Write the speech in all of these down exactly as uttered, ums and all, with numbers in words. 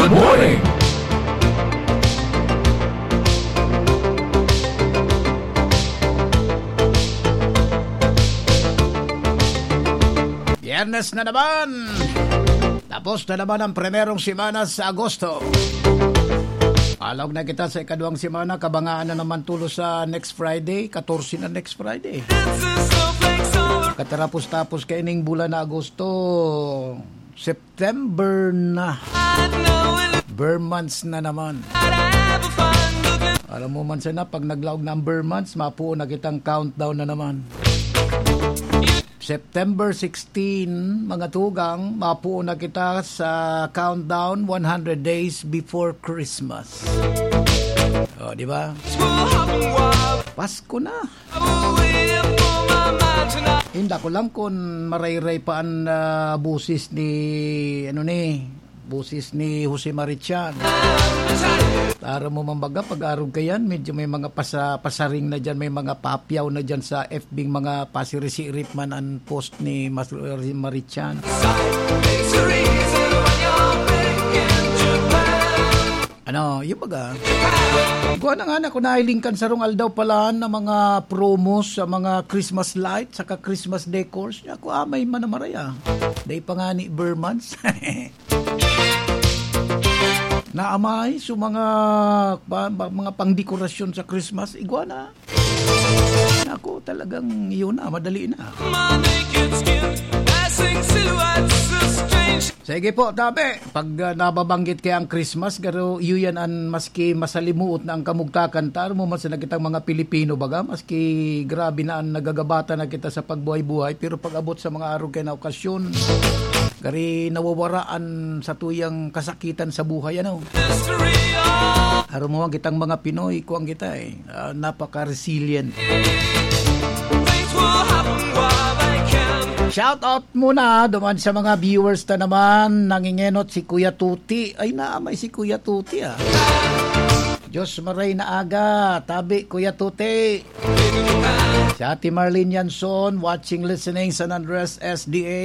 Morning! Biyernes na naman! Tapos na naman ang primerong semana sa Agosto. Alog na kita sa ikaduhang semana, kabangaan na naman tulos sa next Friday, katorse na next Friday. Katarapos-tapos kaining bulan na Agosto, September na. Ber months na naman. Alam mo man sana, pag naglaog na ang ber months, mapuo na kitang countdown na naman. September sixteen, mga tugang, mapuo na kita sa countdown one hundred days before Christmas. O, di ba? Pasko na. Inda ko lang kun marayray pa an, ah, boses ni, ano ni, boses ni Jose Marichan. Taro mo man baga, pag-arog ka yan, medyo may mga pasa-, pasaring na dyan, may mga papyaw na dyan sa F B, mga pasirisirit man an post ni Mas-, Marichan. Ano, yung baga, kuha na nga na, kung nahiling kan sarong aldaw pala na mga promos sa mga Christmas lights saka Christmas decors, niya, kuha may manamaraya. Day pa nga ni Bermans. Naamay, so mga, pa, pa, mga pangdekorasyon sa Christmas, igwa na. Naku, talagang yun na, madali na. My naked skin, passing silhouettes of strange. Sige po, tabi. Pag, ah, nababanggit kaya ang Christmas, garo, iyo yan an maski masalimuot na ang kamugtakan, taro mo man sa kitang mga Pilipino, baga, maski grabe na ang nagagabatan na kita sa pagbuhay-buhay, pero pag abot sa mga arog kaya na okasyon, gari nawawaraan sa tuyang kasakitan sa buhay, ano? History of Aro mo, ang kitang mga Pinoy, kuwang kita eh. Ah, napaka-resilient. Things will happen while they can. Shout out muna duman sa mga viewers ta naman. Nangingenot si Kuya Tuti. Ay, naamay si Kuya Tuti, ah. Diyos maray na aga. Tabi, Kuya Tuti. Si Ate Marlene Yanson, watching, listening, San Andres, S D A.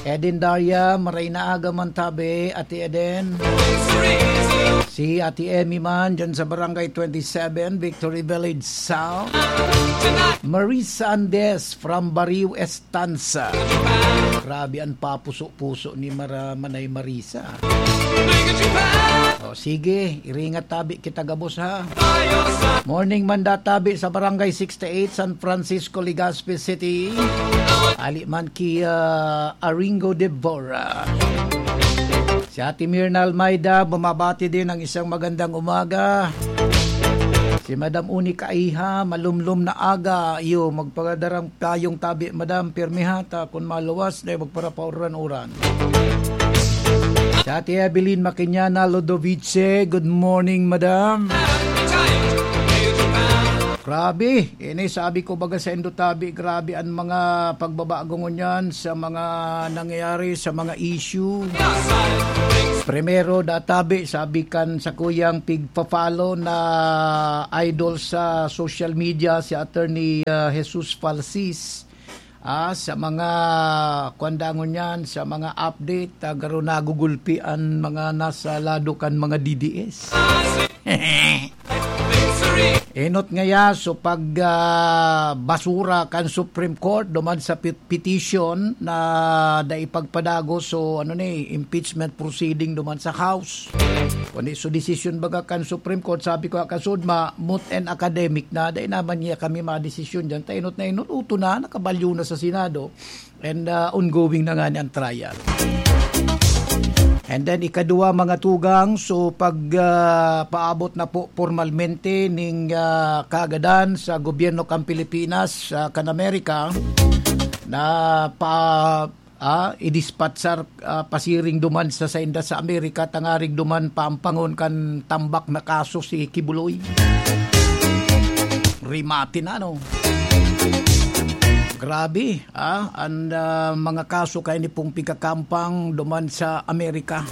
Eden Daria, maray na aga man tabi, Ate Eden. Si Ate Emmy man, dyan sa Barangay twenty-seven, Victory Village South. Marisa Andes from Barrio Estanza. Grabe ang papuso-puso ni Mara-, Manay Marisa. O, sige, iringat tabi kita gabos, ha? Morning, Manda Tabi sa Barangay sixty-eight, San Francisco, Legazpi City. Ali man ki, ah, Aringo Devora. Si Ate Mirna Almeida, bumabati din ng isang magandang umaga. Si Madam Uni Kaiha, malumlom na aga. Iyo, magpagadarang payong tabi, Madam. Pirmi ha ta, kun maluwas, dai magparapauran-uran. Si Ate Evelyn Makinyana Lodovice, good morning, Madam. Grabe, ini sabi ko baga sa Indotabi, grabe ang mga pagbabago ngunyan sa mga nangyayari, sa mga issue. Primero, databi, sabi kan sa kuyang pigpa-follow na idol sa social media, si Attorney, ah, Jesus Falsis. Ah, sa mga kwan dangon yan, sa mga update, ah, garo nagugulpi an mga nasa lado kan mga D D S. Enot ngaya, so pag, ah, basura kan Supreme Court duman sa pet-, petition na dai pagpadagos, so ano ni, impeachment proceeding duman sa House. Kundi so desisyon baga kan Supreme Court, sabi ko, kasud ma-, moot and academic na, dai naman niya kami madesisyon dyan. Ta enot na enot, uto na, nakabalyo na sa Senado. And, ah, ongoing na nga ni ang trial. And then, ikadua, mga tugang, so pag, ah, paabot na po pormalmente ning, ah, kagadan sa gobyerno kan Pilipinas, ah, kan Amerika, na pa, ah, idispatsar, ah, pasiring duman sa sainda sa Amerika, tangarig duman paampangon kan tambak na kaso si Kibuloy. Rimati na, no? Grabe, ah, ang, ah, mga kaso kaini pong pigkakampang duman sa Amerika.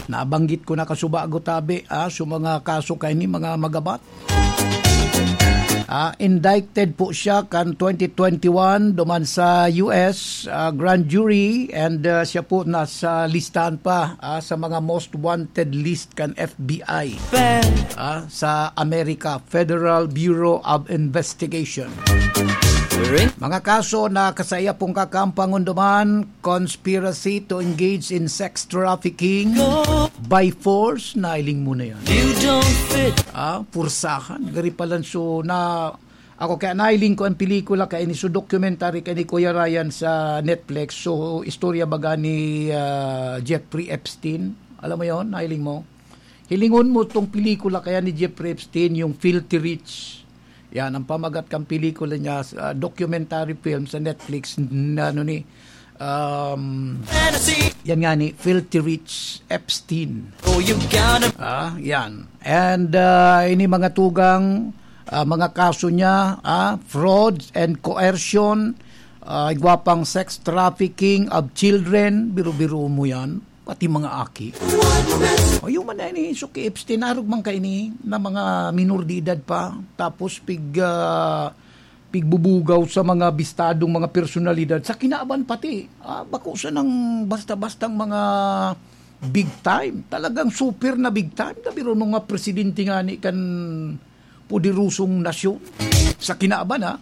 Nabanggit ko na kasubago tabi, ah, so mga kaso kaini, mga magabat. Ah, indicted po siya kan twenty twenty-one duman sa U S, ah, grand jury, and, ah, siya po nasa listahan pa, ah, sa mga most wanted list kan F B I, ah, sa Amerika, Federal Bureau of Investigation. Mga kaso na kasaiya pong kakampangon duman, conspiracy to engage in sex trafficking by force, nailing mo na yan. You don't fit. Ah, pursahan. Gari palan so na, ako kaya nailing ko ang pelikula kaya ni so documentary kay ni Kuya Ryan sa Netflix. So, istorya baga ni, ah, Jeffrey Epstein. Alam mo yon, nailing mo? Hilingon mo tong pelikula kaya ni Jeffrey Epstein, yung Filthy Rich. Yan, ang pamagat kang pelikula niya, ah, documentary film sa Netflix, na ano ni, um, yan nga ni, Filthy Rich Epstein. Oh, you gotta Ah, yan. And, ah, ini mga tugang, ah, mga kaso niya, ah, fraud and coercion, ah, igwa pang sex trafficking of children, biro-biro mo yan, pati mga aki. O, yung man na ini, so kay Epstein, arog man kaini na mga minor de edad pa, tapos pig, ah, pigbubugaw sa mga bistadong mga personalidad, sa kinaban pati, ah, bako sanang basta-bastang mga big time, talagang super na big time. Gabi ron mga presidente nga ni kan poderosong nasyon sa kinaban, ha?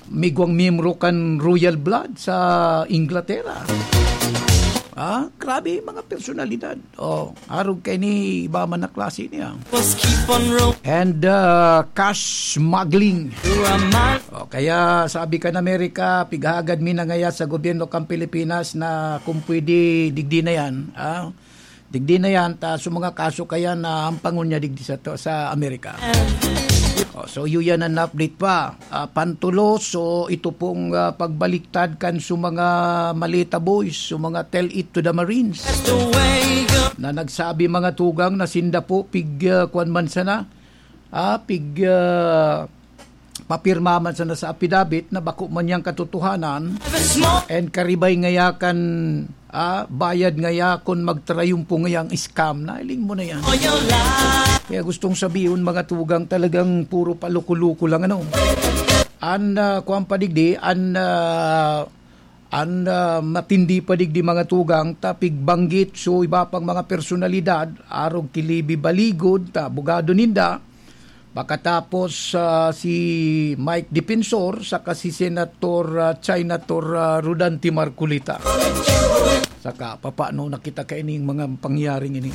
Migwang miyembro kan Royal Blood sa Inglaterra. Ah, grabe, mga personalidad. Oh, arog kay ni iba man na klase niya. Must keep on rolling. And, uh, cash smuggling. Who am I? Oh, kaya sabi kan Amerika, pighagad mi na ngaya sa gobyerno kan Pilipinas na kung pwede, digdi na yan. Ah, digdi na yan, ta, so mga kaso kaya na ampangon niya digdi sa, to, sa Amerika. Oh, so, yun yan ang update pa. Ah, pantulo, so ito pong, ah, pagbaliktad kan su mga Maleta Boys, su mga Tell It to the Marines, na nagsabi mga tugang na sinda po pig, ah, kwan man sana, ah, pig, ah, papirma man sana sa apidabit na bako man yang katotohanan and karibay ngaya kan ah, bayad ngaya kun magtrayumpo ngayang scam, nailing mo na yan. Kaya gustong sabihon, mga tugang, talagang puro paluko-luko lang, ano. An, ah, kuwan pa digdi, an, ah, an, ah, matindi pa digdi, mga tugang, ta pigbanggit so iba pang mga personalidad, arog ki Libby Baligod, ta abogado ninda, Pakatapos, ah, si Mike Defensor saka si Senator, ah, Senator, ah, Rodante Marcoleta. Saka, papaano na kita kaining mga pangyaring ini?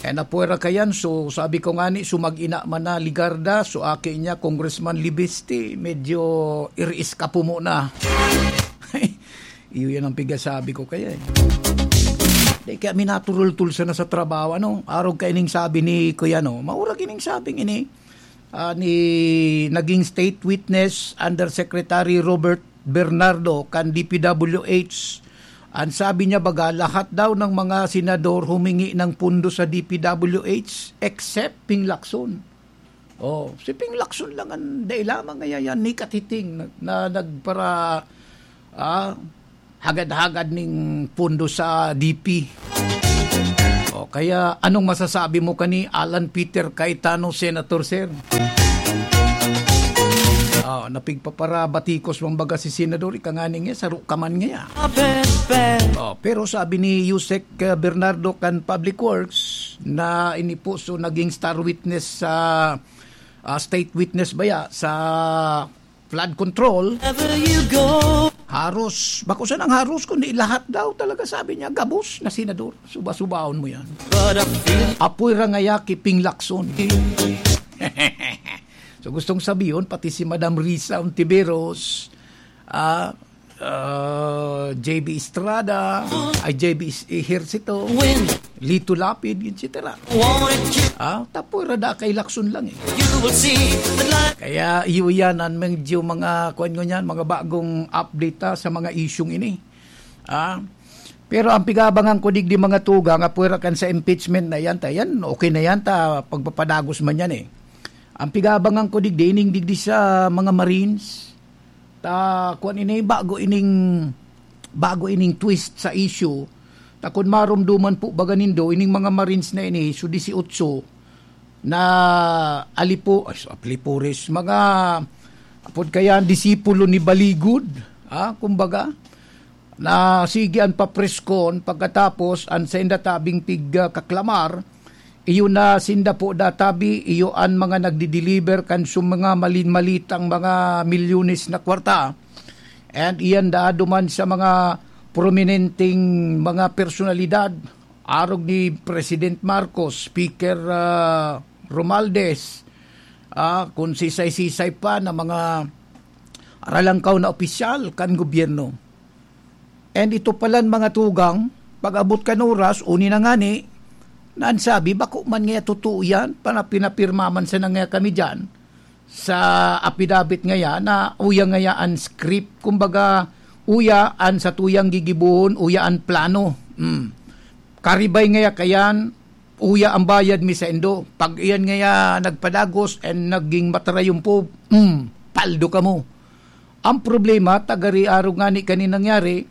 Eh, napuwera kayan, so, sabi ko nga ni, so, mag-ina man na, Legarda, so, aki niya, Congressman Libiste, medyo iriis ka po muna. Iyo yan ang pigasabi ko kaya eh. Di kaya minaturultul sana sa trabaho, ano? Arog kaining sabi ni Kuya, no? Maurag ining sabing ini, ah, ni naging state witness Undersecretary Robert Bernardo kan D P W H. Ang sabi niya baga, lahat daw ng mga senador humingi ng pundo sa D P W H except Ping Lacson. Oh, si Ping Lacson lang ang dai lamang ngaya yan ni Katiting na, na nagpara, ah, hagad-hagad ning pundo sa D P. Oh, kaya anong masasabi mo kani Alan Peter Cayetano, Senator, sir? Oh, napigpaparabatikos mang baga si Senador, ika nga niya, saro ka man ngaya. Oh, pero sabi ni Yusek, uh, Bernardo kan Public Works na ini po so naging star witness sa, ah, state witness baya sa flood control. Wherever you go. Haros, bako sanang haros, kundi lahat daw talaga, sabi niya, gabos na senador. Suba-subaon mo yan. But I feel Apoy ra ngaya ki Ping Lacson. So, gustong sabihin, pati si Madam Risa Ontiveros, ah, ah, J B Estrada, ay, J B Ejercito, Lito Lapid, et cetera. Ah, tapoy ra da kay Lacson lang eh. Kaya iyo yan ang medyo mga, kuwan ko niyan, mga bagong update, ah, sa mga isyung ini. Ah, pero ang pigabangan ko digdi mga tugang, apoy ra kan sa impeachment na yan, ta yan, okay na yan, ta pagpapadagos man yan eh. Ang pigabangan ko digdi, ining digdi sa mga Marines, ta, kuwan ini, bago ining, bago ining twist sa issue, ta kun marumduman po baga nindo, ining mga Marines na ini, so dieciocho, na alipo-, ay, alipores, mga, apod kaya, disipulo ni Baligod, ah, kumbaga, na sige an papreskon, pagkatapos, an sainda tabing pig-, ah, kaklamar, iyo na sinda po databi, iyo an mga nagdi-deliver kan su mga malin-malitang mga milyones na kwarta. And iyan daado man sa mga prominenteng mga personalidad, arog ni President Marcos, Speaker, ah, Romualdez, ah, kun sisay-sisay pa na mga aralangkaw na opisyal kan gobyerno. And ito palan mga tugang, pag-abot kan oras, uni na ngani, na an sabi, bako man ngaya totoo yan, para pinapirma man sana ngaya kami diyan sa apidabit ngaya na uya ngaya an script, kumbaga, uya an satuyang gigibohon, uya an plano. Mm. Karibay ngaya kayan, uya an bayad mi saindo. Pag iyan ngaya nagpadagos and naging matarayon po, mm, paldo kamo. Ang problema, ta gari arog ngani kaini nangyari,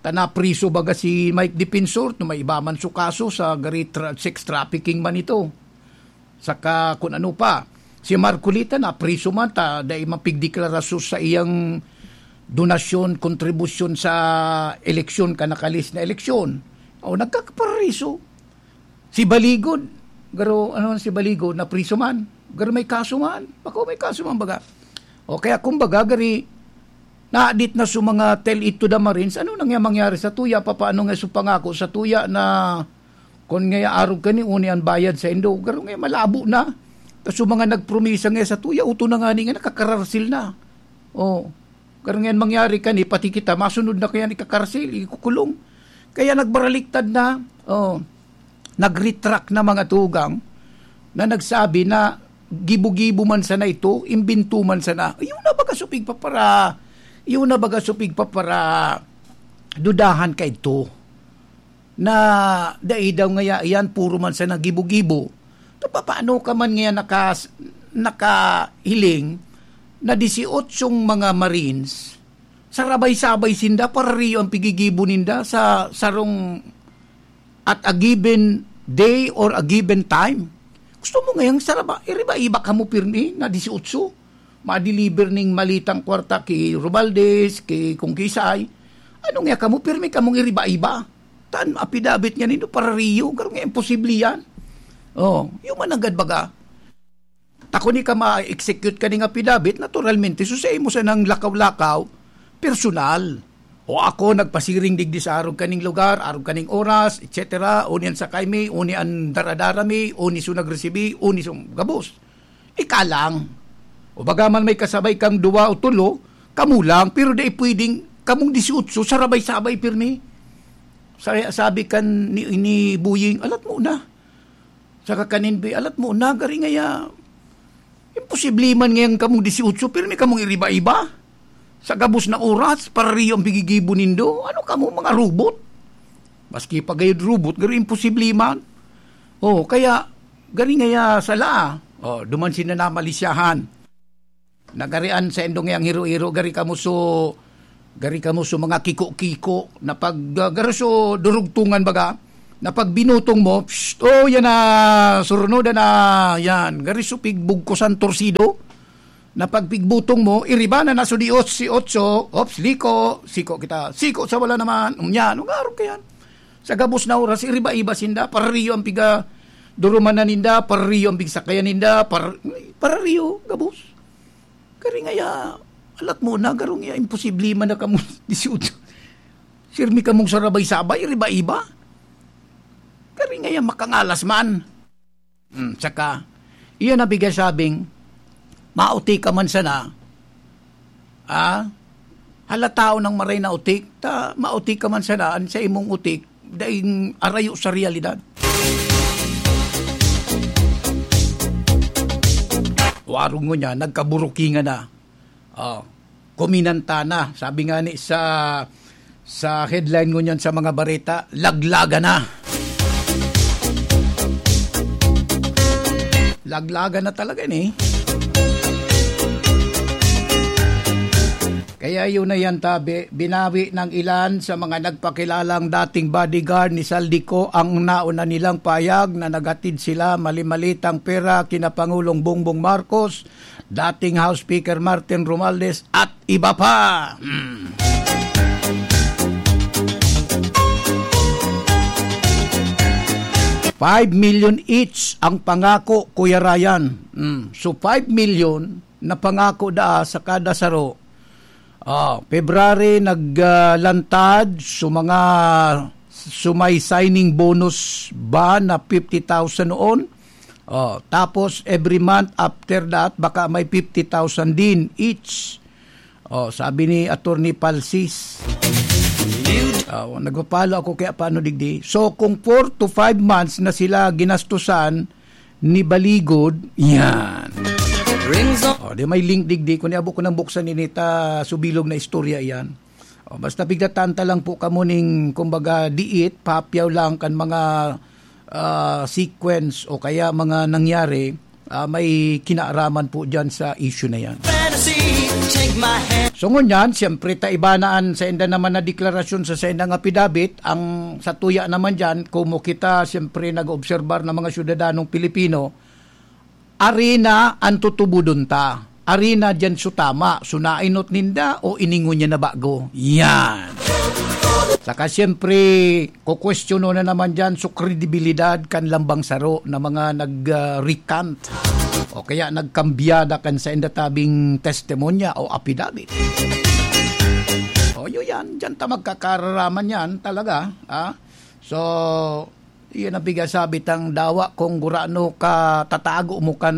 ta napriso baga si Mike Defensor, no may iba man su kaso sa gari tra-, sex trafficking man ito. Saka kun ano pa, si Marcoleta napriso man ta dai man pigdeklara su saiyang donasyon, kontribusyon sa eleksyon, kan nakalis na eleksyon. O, nagkakaparaiso. Si Baligod, garo, ano si Baligod, napriso man. Garo may kaso man. Bako may kaso man baga. O kaya kumbaga, gari, naadit na su mga tell it to the Marines. Ano nang mangyari sa tuya? Papaano nga su pangako sa tuya na kun ngaya arog kani, uni an bayad saindo? Garo ngaya malabo na. Tas su mga nagpromisa ngaya sa tuya, uto na ngani nga nakakararsil na. O, garo ngayan mangyari kani, pati kita, masunod na kaya ni kakarsil, ikukulong. Kaya nagbaraliktad na, o, nag-retract na mga tugang na nagsabi na gibo-gibo man sana ito, imbento man sana. Iyo na baga su pigpapara-, iyo na baga su pigpaparadudahan kaidto. Na dai daw ngaya iyan, puro man sana gibo-gibo. Ta papaano ka man ngaya nakas-, nakahiling na disyotsyong mga Marines, sarabay-sabay sinda, parariyo an pigigibo ninda sa sarong, at a given day or a given time? Gusto mo ngayang saraba-, iriba-iba kamo pirmi na disyotso? Ma-deliver ning malitang kwarta ki Romualdez, ki kung kisay. Ano nga kamo, pirmi kamong iriba-iba? Tan affidavit nga nindo, parariyo, garo nga imposible yan. Oh, iyo man nanggad baga. Ta kun ika ma-execute kaning affidavit, naturalmente, so sa imo sanang lakaw-lakaw, personal. O ako nagpasiring digdi sa arog kaning lugar, arog kaning oras, et cetera. Uni an sakay mi, uni an daradara mi, uni so nagresibi, uni so gabos. Ika lang. O baga man may kasabay kang duwa o tulo, kamo lang, pero dai pwedeng kamong disyotso, sarabay-sabay pirmi. Sa-, sabi kan ni, ni Buying, "Alat mo na." Saka kanin, "Be, alat mo na, gari ngaya, imposible man ngayang kamong disyotso, pirmi kamong iriba-iba. Sa gabos na oras, parariyo ang pigigibo nindo. Ano kamo, mga robot?" Maski pa gayod robot, garo imposible man. Oh, kaya, gari ngaya sala, oh, duman sina namalisyahan. Nagarian sa indong yang hiro-hiro, gari kamo so, gari kamo so mga kiko-kiko, na pag, ah, garo so durugtungan baga, na pag binutong mo, psst, oh, yan na, surno da na, yan, gari so pigbugkusan torsido, na pag pigbutong mo, iriba na na so di otso, ops, liko, siko kita, siko sa wala naman, um, yan, ugarog ka yan. Sa gabos na oras, iriba-iba sinda, parariyo ang piga, duruman na ninda, parariyo ang pigsakayan ninda, par-, parariyo, gabos. Kari ngaya, alat mo na, garo ngaya, imposible man na kamo disyotso. Sirmi kamong sarabay-sabay, iriba-iba. Kari ngaya, makangalas man. Hmm, saka, iyan na bigay sabing, mauti ka man sana, ah, halata nang maray na utik, ta mauti ka man sana, an sa imong utik, daing arayo sa realidad. Warong ngunyan, nagkaburukingan na. Oh, kuminanta na. Sabi nga ni sa, sa headline ngunyan sa mga bareta, "Laglagan na." Laglagan na talaga ni. Kaya yun na yan, tabi. Binawi ng ilan sa mga nagpakilalang dating bodyguard ni Zaldy Co ang nauna nilang pahayag na naghatid sila mali-malitang pera kina Pangulong Bongbong Marcos, dating House Speaker Martin Romualdez at iba pa. Hmm. Five million each ang pangako, Kuya Ryan. Hmm. So, five million na pangako daa sa kada saro. Ah, February, naglantad sa mga, sa may signing bonus ba na fifty thousand noon. Oh, tapos every month after that, baka may fifty thousand din each. Oh, sabi ni Attorney Palsis. Oh, nagpapalo ako kaya paano digdi. So, kung four to five months na sila ginastusan ni Baligod, yan. Rings on. Oh, di may link digdi. Kung niabo ko nang buksan ini, ta subilog na istorya iyan. Oh, basta pigdatan ta lang po kamo ning, kumbaga, diit, papyaw lang kan mga, ah, sequence o kaya mga nangyari, ah, may kinaaraman po dyan sa issue na yan. Fantasy, take my hand. So, ngunyan, siyempre, ta iba na an sainda naman na deklarasyon sa saindang apidabit. Ang satuya naman dyan, kumo kita, siyempre, nag-oobserbar ng mga syudadanong Pilipino, ari na an tutubodon ta. Ari na diyan su tama, su nainot ninda o iningon niya na bago. Yan. Saka siyempre, kukwestiyonon na naman diyan su kredibilidad kan lambang saro na mga nag, ah, recant o kaya nagkambyada kan sainda tabing testimonya o apidabit. O, yun yan. Diyan ta magkakararaman yan talaga, ah. So, iyan ang pigasabi tang dawa kung gurano ka tatago mo kan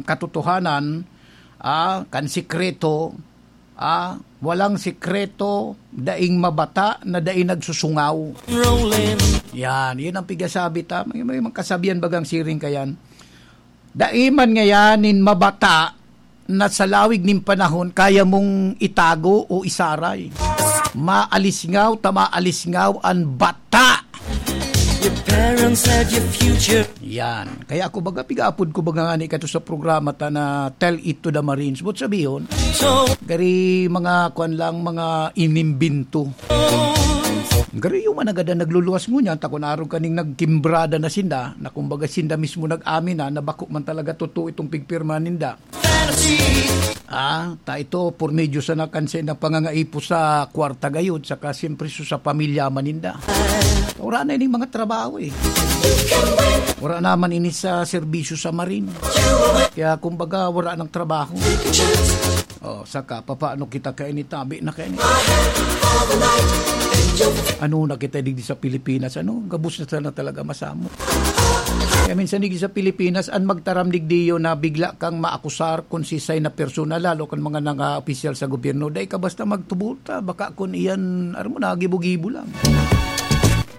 katotohanan, ah, kan sikreto, ah, walang sikreto, daing mabata na dai nagsusungaw. Rolling. Yan, yun ang pigasabi ta. May, may mga kasabihan bagang siring kayan. Dai man ngayan nin mabata na sa lawig nin panahon kaya mong itago o isaray. Maalisngaw ta maalisngaw an bata. Your parents had your future. Yan. Kaya ako baga, pigaapod ko baga ngani kato sa programa ta na Tell It to the Marines. But sabihon, So, gari mga kwan lang, mga inimbinto. Gari yung managada nagluluwas ngunyan, ta kun arog kaning nagkimbrada na sinda, na kumbaga sinda mismo nag-amin na, na bako man talaga totoo itong pigpirma ninda. Ah, ta ito, por medyo sana kan saindang pangangaipo sa kwarta gayod, saka siyempre su sa pamilya man ninda. Wala na ining mga trabaho eh. Wala naman ini sa serbisyo sa marin. Kaya kumbaga, wala nang trabaho. Oh, saka, papaano kita kaini tabi na kaini? Ano na kita digdi sa Pilipinas? Ano? Gabos na sana talaga masamo. Kaya minsan digdi sa Pilipinas, an magtaram digdi yun na bigla kang maakusar kung sisay na persona, lalo kan mga nanga opisyal sa gobyerno. Dai ka basta magtubod ta, baka kun iyan, aram mo na, gibo-gibo lang.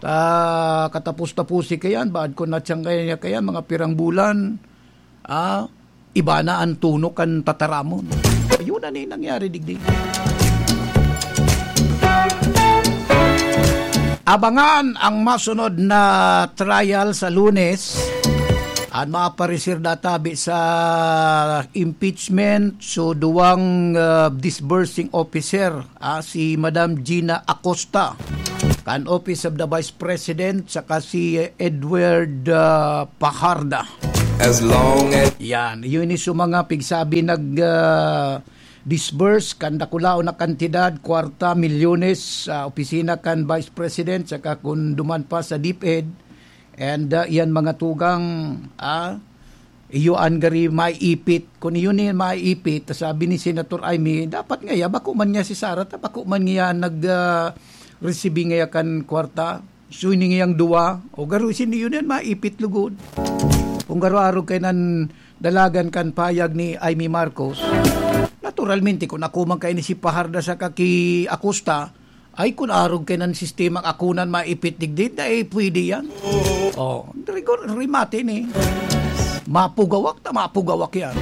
Ta, katapos-tapusi kayan, baad kun natsang kaya niya kayan, mga pirang bulan, ah, iba na an tono kan tataramon. Ayun na ni nangyari digdi. Abangan ang masunod na trial sa Lunes. An maparisir natabi sa impeachment, so duwang, ah, disbursing officer, ah, si Madam Gina Acosta, kan Office of the Vice President, saka si Edward, ah, Pajarda. As long as Yan, yun is yung mga pigsabi nag, ah, disburse kan dakulaon na kantidad, kwarta, milyones, sa opisina kan Vice President, saka kun duman pa sa DepEd. And, ah, iyan mga tugang, ah, iyo an gari maiipit. Kun iyo ni maiipit, ta sabi ni Senator Imee, dapat ngaya, bako man nga si Sara, ta bako man nga nag, ah, resibi ngaya kan kwarta. So, ini ngayang duwa, o garo, sino yun yan? Maipit lugod. Kung garo arog kay nan dalagan kan payag ni Imee Marcos, naturalmente, kung ako man kayo ni si Pajarda sa kaki Acosta, ay, kung arog kay nan sistema akunan maipit digdi, dai pwede yan. Oh, rigor, rimate ni. Mapugawak ta, mapugawak yan.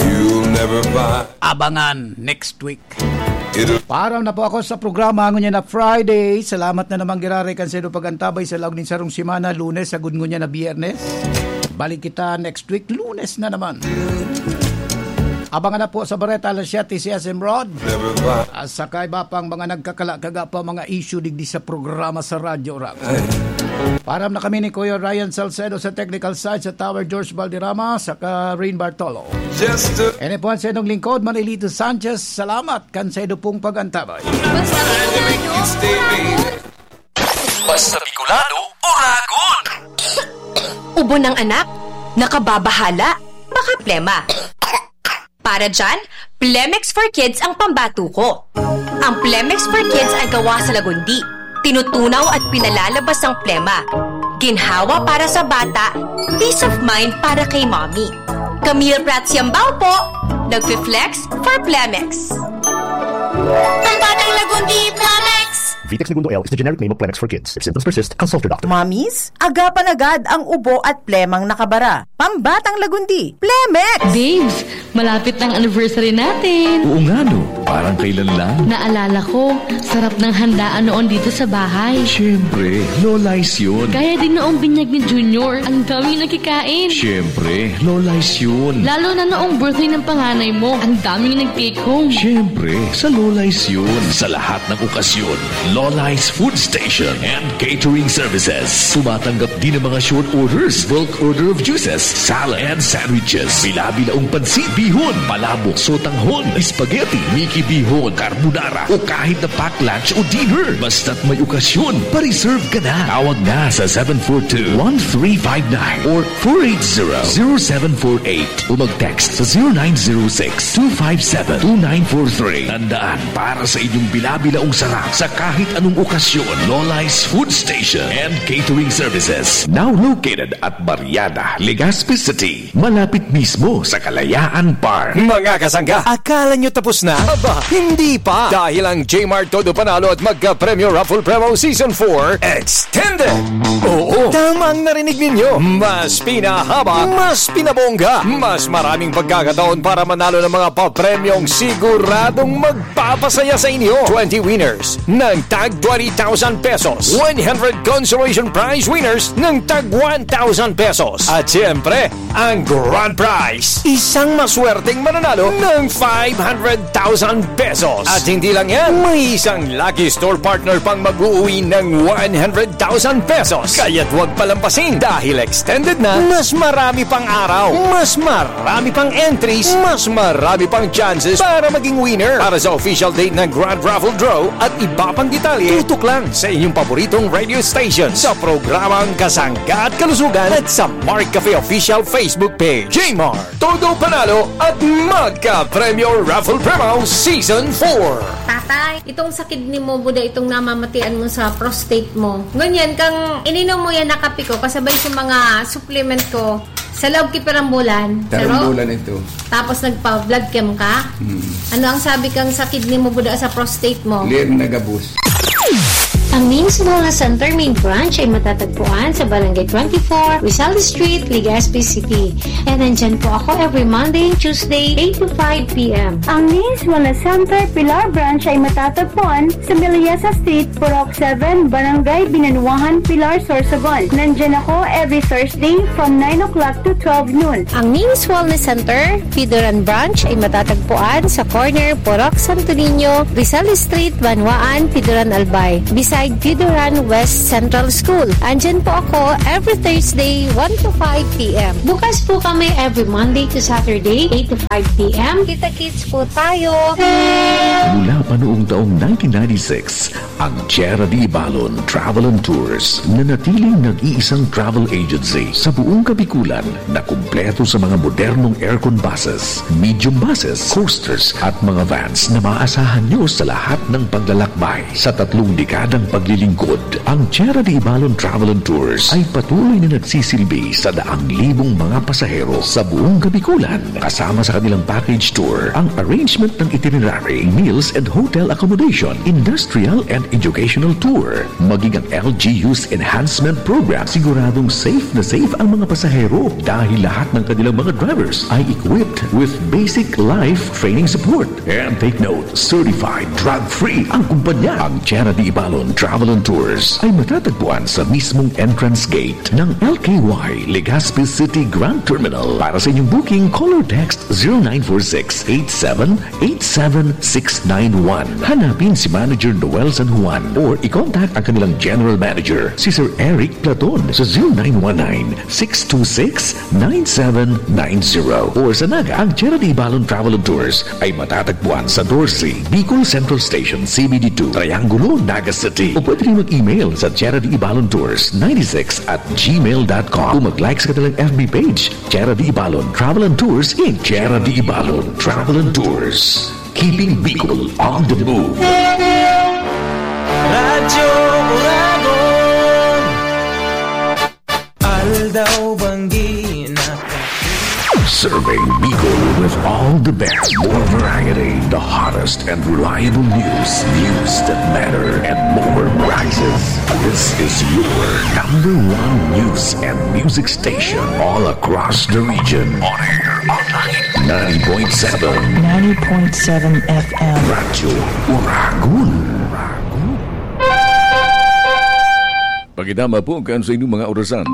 You'll never find Abangan next week. It'll Paaram na po ako sa programa ngunyan na Friday. Salamat na naman giraray kan sendo pag-antabay sa laog nin sarong semana, Lunes, sagud ngunyan na Biyernes. Balik kita next week, Lunes na naman. Abangan na po sa Bareta alas siyete si S M Rod. At saka iba pang mga nagkakala-kaga pa mga issue digdi sa programa sa Radyo Rock. Param na kami ni Kuya Ryan Salcedo sa technical side, sa Tower George Valderrama, saka Rain Bartolo. Just a Ini po ang sa inyong lingkod, Manilito Sanchez. Salamat kan sa inyong pong pag-antabay. Basta Bicolano, Uragon! Ubo ng anak, nakababahala, baka plema. Para dyan, Plemex for Kids ang pambato ko. Ang Plemex for Kids ay gawa sa lagundi, tinutunaw at pinalalabas ang plema. Ginhawa para sa bata, peace of mind para kay mommy. Camille Prats Yambao po, nagfi-flex for Plemex. Pambatang Lagundi, Plemex! Vitex Negundo L is the generic name of Plemex for Kids. If symptoms persist, consult your doctor. Mommies, agapan agad ang ubo at plemang nakabara. Pambatang Lagundi, Plemex! Babes, malapit na ang anniversary natin. Oo nga no, parang kailan lang. Naalala ko, sarap ng handaan noon dito sa bahay. Siyempre, Lola's yun. Kaya din noong binyag ni Junior, ang daming nakikain. Siyempre, Lola's yun. Lalo na noong birthday ng panganay mo, ang daming nag-take home. Siyempre, sa Lola's yun. Sa lahat ng okasyon, Lola's Food Station and Catering Services. Tumatanggap din ng mga short orders, bulk order of juices, salad and sandwiches, bila-bilaong pansit, bihon, palabok, sotanghon, spaghetti, miki bihon, carbonara, o kahit na pack lunch o dinner. Basta't may okasyon, pa-reserve ka na. Tawag na sa seven four two, one three five nine or four eight zero, zero seven four eight o mag-text sa zero nine zero six, two five seven, two nine four three. Tandaan, para sa inyong bila-bilaong sarap sa kahit anong okasyon, Lola's Food Station and Catering Services. Now located at Barriada, Legazpi City. Malapit mismo sa Kalayaan Park. Mga kasangga, akala nyo tapos na? Aba, hindi pa! Dahil ang Jmart Todo Panalo at Magka Premyo Raffle Promo Season four Extended! Oo, tama ang narinig ninyo. Mas pinahaba, mas pinabongga, mas maraming pagkakataon para manalo ng mga papremyong siguradong magpapasaya sa inyo. Twenty winners ng tag twenty thousand pesos, one hundred consolation prize winners ng tag one thousand pesos, at siyempre, ang grand prize, isang maswerteng mananalo ng five hundred thousand pesos. At hindi lang yan, may isang lucky store partner pang mag-uuwi ng one hundred thousand pesos. Kaya't huwag palampasin dahil extended na, mas marami pang araw, mas marami pang entries, mas marami pang chances para maging winner. Para sa official date ng Grand Raffle Draw at iba pang detalye, tutok lang sa inyong paboritong radio station sa programang Kasangga at Kalusugan at sa Mark Cafe Official Facebook Page. Jmart, Todo Panalo at Magka Premyo Raffle Promo Season four. Tatay, itong sa kidney mo, buda itong namamatian mo sa prostate mo. Ngunyan, kang ininom mo yan na kape ko, kasabay sa mga supplement ko, sa loob ki pirang bulan. Sa loob? Tarong bulan ito. Tapos nagpa-blood chem ka? Hmm. Ano ang sabi kang sa kidney mo, buda sa prostate mo? Clear na gabos. Ang Names Wellness Center main branch ay matatagpuan sa Barangay twenty-four, Rizal Street, Legazpi City. And nandyan po ako every Monday and Tuesday, eight to five p m. Ang Names Wellness Center Pilar Branch ay matatagpuan sa Miliesa Street, Purok seven, Barangay Binanuahan, Pilar, Sorsogon. Nandyan ako every Thursday from nine o'clock to twelve noon. Ang Names Wellness Center, Pidoran Branch ay matatagpuan sa corner Purok Santo Niño, Rizal Street, Banwaan, Pidoran, Albay, beside Pidoran West Central School. Andyan po ako every Thursday, one to five p m. Bukas po kami every Monday to Saturday, eight to five p m. Kita-kits po tayo! Mula pa noong taong nineteen ninety-six, ang Tierra de Ibalon Travel and Tours, nanatiling nag-iisang travel agency sa buong Kabikulan na kumpleto sa mga modernong aircon buses, medium buses, coasters at mga vans na maaasahan nyo sa lahat ng paglalakbay. Sa tatlong dekadang paglilingkod, ang Tierra de Ibalon Travel and Tours ay patuloy na nagsisilbi sa daang libong mga pasahero sa buong Kabikulan, kasama sa kanilang package tour, ang arrangement ng itinerary, meals and hotel accommodation, industrial and educational tour, maging ang L G U's enhancement program, siguradong safe na safe ang mga pasahero dahil lahat ng kanilang mga drivers ay equipped with basic life training support. And take note, certified drug-free ang kumpanya. Ang Tierra de Ibalon Travel and Tours ay matatagpuan sa mismong entrance gate ng L K Y Legazpi City Grand Terminal. Para sa inyong booking, call or text zero nine four six eight seven eight seven six nine one. Hanapin si Manager Noel San Juan or i-contact ang kanilang General Manager, si Sir Eric Platon, sa zero nine one nine six two six nine seven nine zero. Or sa Naga, ang Charity Balon Travel and Tours ay matatagpuan sa Dorsey, Bicol Central Station, C B D two, Triangulo, Naga City. O pwede rin mag-email sa Charity Balon Tours ninety-six at gmail dot com. O mag-like sa kanilang F B page, Charity Balon Travel and Tours, Incorporated. Charity Balon Travel and Tours, keeping Bicol on the move. Radyo Uragon. Aldaw Banggi na. Serving Bicol with all the best, more variety, the hottest and reliable news, news that matter, and more prizes. This is your number one news and music station all across the region. On air, online, ninety point seven. Ninety point seven F M. Radyo Uragon. Pagidama po kan sa inyong mga orasan.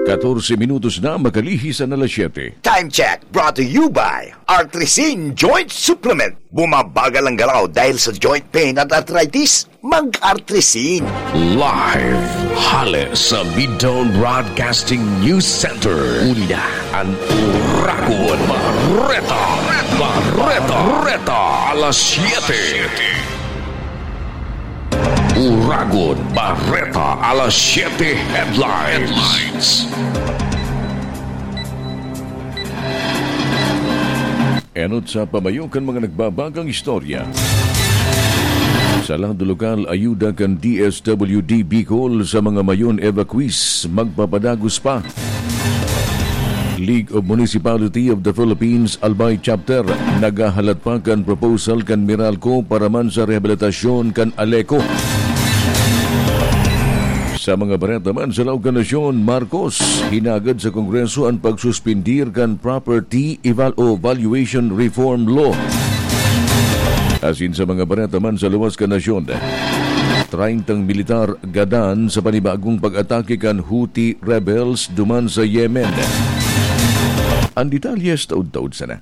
Katorse minutos na makalihis an alas siyete. Time check brought to you by Artrisin Joint Supplement. Bumabagal ang galaw dahil sa joint pain at arthritis. Mag-Artrisin. Live hale sa Midtown Broadcasting News Center. Uli na an Uragon Bareta. Bareta. Bareta. Alas siyete. Uragon Bareta alas siyete headlines. Enot sa pamayo kan mga nagbabagang istorya. Sa lado lokal, ayuda kan D S W D Bicol sa mga mayon evacuees magpapadagos pa. League of Municipality of the Philippines, Albay Chapter, naghahalat pa kan proposal kan Meralco para man sa rehabilitasyon kan Aleco. Sa mga bareta man sa laog kan nasyon, Marcos, hinagad sa Kongreso an pagsuspindir kan Property Eval o Valuation Reform Law. Asin sa mga bareta man sa luwas kan nasyon, treyntang militar gadan sa panibagong pag-atake kan Houthi rebels duman sa Yemen. An detalye sa taod-taod sana.